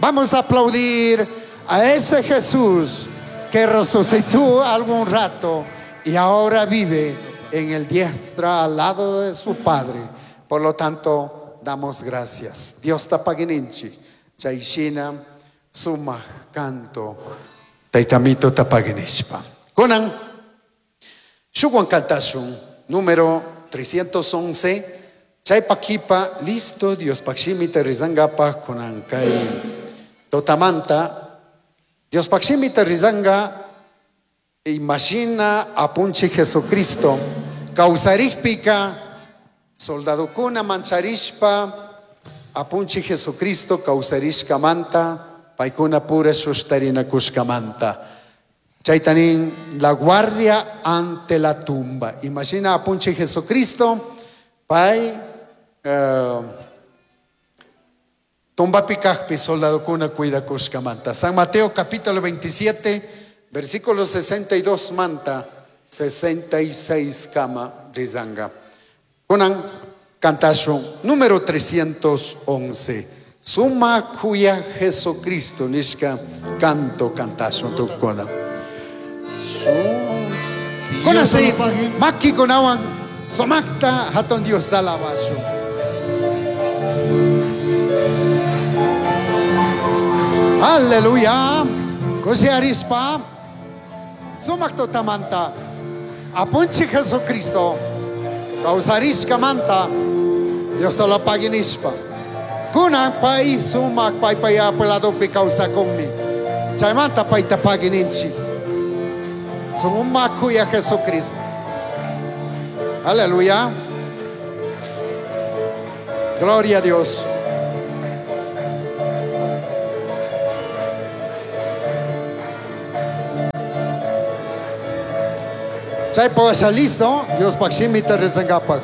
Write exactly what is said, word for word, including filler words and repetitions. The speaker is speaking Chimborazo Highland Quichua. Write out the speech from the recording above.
Vamos a aplaudir a ese Jesús que resucitó algún rato y ahora vive en el diestra al lado de su Padre. Por lo tanto, damos gracias. Dios tapagininchi. Chayshina suma canto. Taitamito tapaginishpa. Kunan, shuwan kantashun, número trescientos once. Chaypakipa, listo, Dios pakshimita rizangapa kunan kay totamanta. Dios pakshimita rizanga, imagina apunche Jesucristo. Causarishpika, soldadokuna mancharishpa, apunche Jesucristo, causarishka manta, paikuna pura sustarina kushkamanta. Chaitanin, la guardia ante la tumba. Imagina apunche Jesucristo, pai, eh, tumba pikajpi, soldadokuna cuida kushkamanta. San Mateo capítulo veintisiete, versículo sesenta y dos manta, sesenta y seis kama rizanga. Kunan cantasho número trescientos once. Suma cuya Jesucristo nishka canto cantasho tukuna. Kunan se maki kunawan somakta haton Dios da labaso. Aleluya. Kusi arispa. Sumakto tamanta. Apunchi Jesucristo. Causarishka manta. Dios solo paginispa. Kunan pai sumak pai pai apelado pi causa conmi. Chaymanta pai tapagininchi. Sumakuya Jesucristo. Aleluya. Gloria a Dios. Chay pawasha listo, Dios pakshimita rezangapak.